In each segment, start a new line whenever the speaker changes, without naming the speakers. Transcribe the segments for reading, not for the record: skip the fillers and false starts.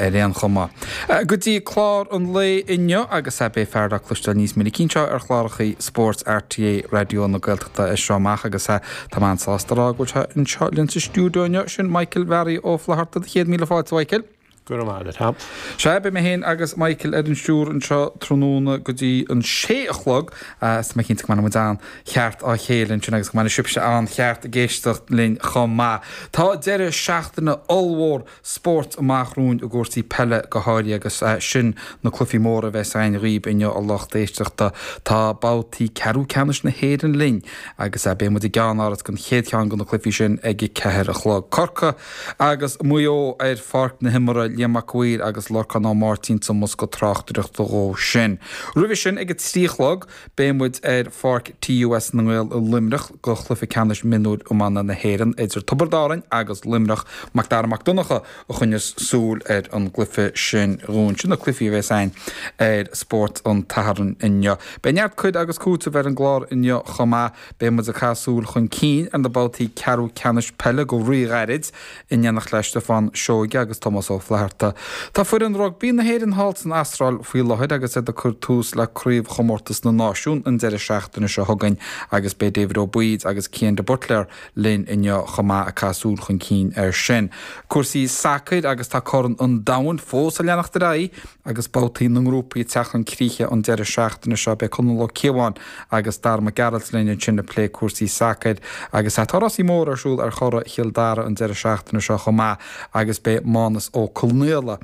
Ar aon chuma, go dtí clár an lae inniu agus beidh fear le cloisteáil níos minicí anseo ar chláracha spóirt RTÉ Raidió na Gaeltachta as seo amach agus tá mé an-sásta a rá go bhfuil sé anseo linn sa stiúideo inniu, sin Michael Mhearaí Ó Flatharta. Chéad míle fáilte, a Mhichael.
Go raibh maith agat, Tom.
Sea, beidh mé féin agus Michael ar an stiúir anseo tráthnóna go dtí an sé a chlog. Is tá mé cinnte go mbainfidh muid an-cheart á chéile ansin agus go mbainfidh sibhse an-cheart ag éisteacht linn chomh maith. Tá deireadh seachtaine ollmhór spóirt amach romhainn i gcúrsaí peile go háirithe agus sin na cluichí móra a bheas againn dhaoib inniu a lucht éisteachta. Tá babhtaí ceathrú ceannais na hÉireann linn agus beidh muid i gceannáras don chéad cheann de na cluichí sin ag a ceathair a chlog. Corcaigh agus Maigh Eo ar pháirc na himeartha, Liam Mac a' Mhaoir agus Lorcán Ó Máirtín sa mbosca tráchtaireachta dhó sin. Roimhe sin ag a 3 a chlog beidh muid ar pháirc TUS na nGael i Luimneach do chluiche ceannais mionúir iomána na hÉireann idir Tiobraid Árann agus Luimneach. Mac Dara Mac Donncha a choinneos súil ar an gcluiche sin dhúinn. Sin na cluichí a bheas againn ar Spórt an tSathairn inniu. Beidh neart cur agus cúiteamh ar an gclár inniu chomh maith. Beidh muid ag caitheamh súil chun cinn ar na babhtaí ceathrú ceannais peile go ríghairid, in éineacht le Stiofán Seoige agus Tomás Ó Flatharta. Tá foireann rugbaí na hÉireann thall san Astráil faoi láthair agus iad ag cur tús le Craobhchomórtas na Náisiún an deireadh seachtaine seo chugainn agus beidh David Ó Baoid agus Cian de Buitléar linn inniu chomh maith ag caitheamh súil chun cinn air sin. Cúrsaí sacair agus tá Corn an Domhain fós ag leanacht ar aghaidh agus babhtaí na ngrúpaí ag teacht chun críche an deireadh seachtaine seo. Beidh Conall Ó Cíobháin agus Dara Mac Gearailt linn ansin ag plé cúrsaí sacair agus tá rásaí móra ar siúl ar Churrach Chill Dara an deireadh seachtaine seo chomh maith agus beidh Mánus Ó Conaola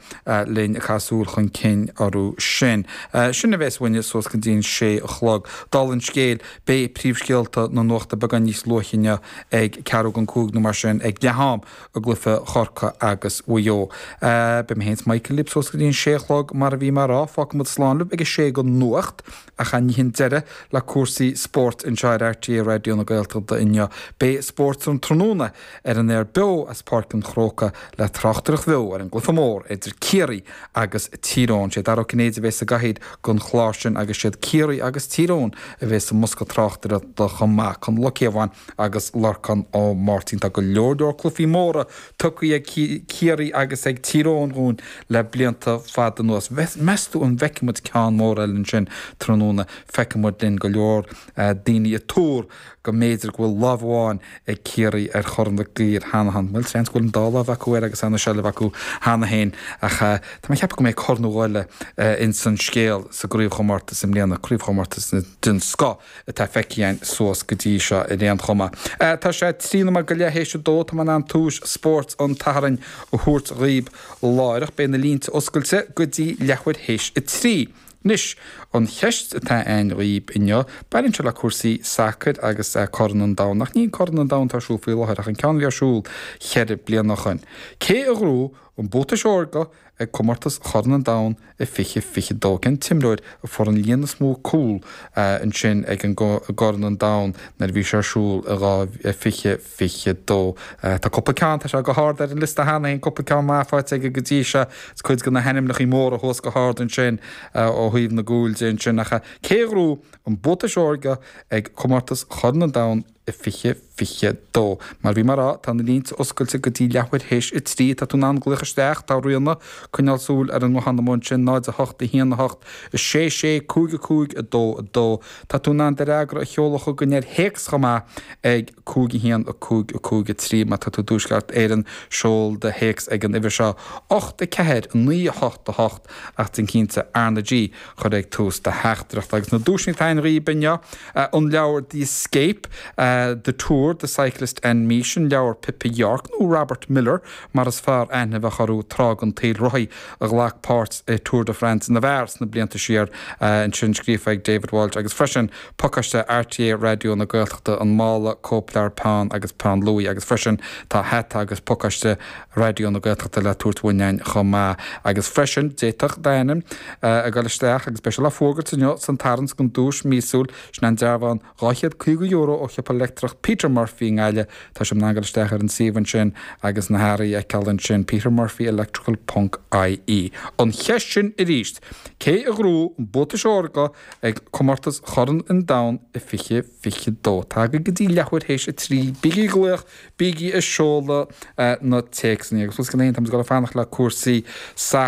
linn ag caitheamh súil chun cinn orthu sin. Sin a bheas uainne suas go dtí an sé a chlog. Dála an scéil, beidh príomhscéalta na nuachta beagán níos luaithe inniu ag ceathrú don cúig nó mar sin ag leath-am i gcluiche Chorcaí agus Mhaigh Eo. Beidh mé féin is Michael libh suas go dtí an sé a chlog mar a bhí mé a rá. Fágfaidh muid slán libh ag a sé don nuacht. Ach ní hin deireadh le cúrsaí spóirt anseo ar RTÉ Raidió na Gaeltachta inniu. Beidh Spórt an Tráthnóna ar an aer beo as Páirc an Chrócaigh le tráchtaireacht bheo ar an gcluiche mór idir Ciarraí agus Tír Eoghain. Sé Dara Ó Cinnéide a bheas sa gcathaoir don chlár sin agus siad Ciarraí agus Tír Eoghain a bheas sa mbosca tráchtaireachta chomh maith. Conall Ó Cíobháin agus Lorcán Ó Máirtín. Tá go leor leor cluichí móra tugtha ag Ciarraí agus ag Tír Eoghain dhúinn le blianta fada anuas. Meas tú an bhfeicfidh muid ceann mór eile ansin tráthnóna? Feicfidh muid linn go leor daoine ag tuar go mb'fhéidir go bhfuil lámh amháin ag Ciarraí ar Chorn Mhic Uidhir cheana féin. Bhuel, seans go bhfuil an dá lámh acu air agus ana-sheilbh acu cheana féin ach tá mé ag ceapadh go mbeidh corn nó dhó eile ins an scéal sa gcraobhchomórtas i mbliana, craobhchomórtas den scoth. atá feicthe againn suas go dtí seo ar aon chuma. Tá sé 13 nóiméad go leath théis a dó, tá mé in am tomhais spóirt an tSathairn a thabhairt dhaoib láithreach. Beidh na línte oscailte go dtí leathuair théis a trí. Anois, an cheist atá againn dhaoib inniu, baineann sé le cúrsaí sacair agus Corn an Domhain, ach ní an Corn an Domhain atá ar siúl faoi láthair ach an ceann a bhí ar siúl cheithre bliana ó shoin. Cé a ghnóthaigh an Buatais Órga ag Comórtas Chorn an Domhain i 2022. Cén t-imreoir a fuair an líon is mó cúl ansin ag an gCorn an Domhain nuair a bhí sé ar siúl i 2022? Tá cúpla ceann, tá sé go hard ar an liosta cheana féin, cúpla ceann maith faighte aige go dtí seo. Is cuid de na hainmneacha móra thuas go hard ansin ó thaobh na gcúil de ansin. Ach cé a ghnóthaigh an Buatais Órga ag Comórtas Chorn an Domhain i 2022. Mar a bhí mé a rá, tá na línte oscailte go dtí leathuair théis a 3. Tá tú in ann glaoch isteach, tá Ríona ag coinneáil súil ar an nguthán amuigh ansin, 0 8 1 8 6 6 5 5 2 2. Tá tú in ann do fhreagra a sheoladh chugainn ar théacs chomh maith ag 5 1 5 5 3. Má tá tú i dTuaisceart Éireann, seol do théacs ag an uimhir seo, 8 4 9 8 8 ach déan cinnte R na G a chur ag tús do theachtaireachta. Agus na duaiseanna atá againn dhaoib inniu, an leabhar The Escape, The Tour, The Cyclist and Me, sin leabhar Pippa York, nó Robert Millar mar is fearr aithne a bheadh orthu tráth den tsaol, rothaí a ghlac páirt i Tour de France na bhfear sna blianta siar, ansin scríofa ag David Walsh agus freisin pacáiste RTÉ Raidió na Gaeltachta, an mála, cóipleabhar, peann agus peann luaidhe agus freisin tá hata agus pacáiste Raidió na Gaeltachta le tabhairt uainn againn chomh maith. Agus freisin, d'fhéadfadh d'ainm a ghoil isteach agus beidh sé le fuagairt inniu san tarraingt don duais míosúil, sin an dearbhán €250 ó shiopa leictreach Peter Murphy i nGaillimh. Tá sibh in ann goil isteach ar an suíomh ansin agus na hearraí a fheiceáil ansin, petermurphyelectrical ponc ie. An cheist sin arís, cé a ghnóthaigh an Buatais Órga ag Comórtas Chorn an Domhain i 2022? Tá agaibh go dtí leathuair théis a 3. Bígí ag glaoch! Bígí ag seoladh na téacsanna agus fós féin, táimid ag dul ag fanacht le cúrsaí sacair.